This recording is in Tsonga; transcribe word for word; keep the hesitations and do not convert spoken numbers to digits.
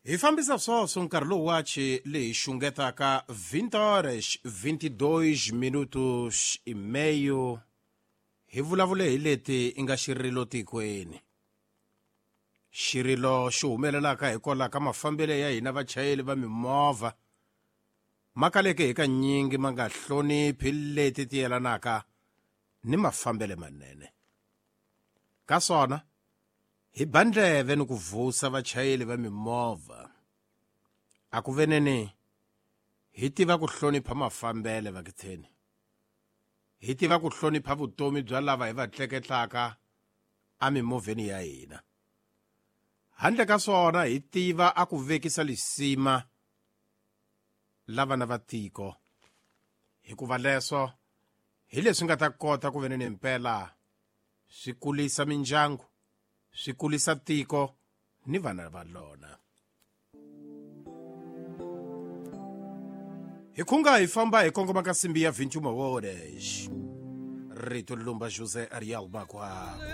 Hi fambisa swoswo nkarhi lowu wachi leyi xungetaka vinte horas vinte e dois minutos e meio. Hi vulavule hi leti i nga xirilo tikweni. Xirilo xi humelelaka hikwalaho ka mafambelo ya hina vachayeri va mimovha ma kaleke hi kanyingi ma nga hloniphi leti ti yelanaka ni mafambelo manene. Ka swona hi ba ndleve ni ku vusa vachayeri va mimovha. A ku veneni hi tiva ku hlonipha mafambelo vakitheni. Hi tiva ku hlonipha vutomi bya lava hi va tleketlaka emimovheni ya hina. Handle ka swona hi tiva a ku vekisa lisima lava na va tiko. Hikuva leswo hi leswi nga ta kota ku veneni mpela swi kulisa mindyangu, swi kulisa tiko ni vana va lona. Hi khunga hi famba hi kongoma ka simbi ya vinte e uma horas. Rito Lumba José Ariel Makwakwa.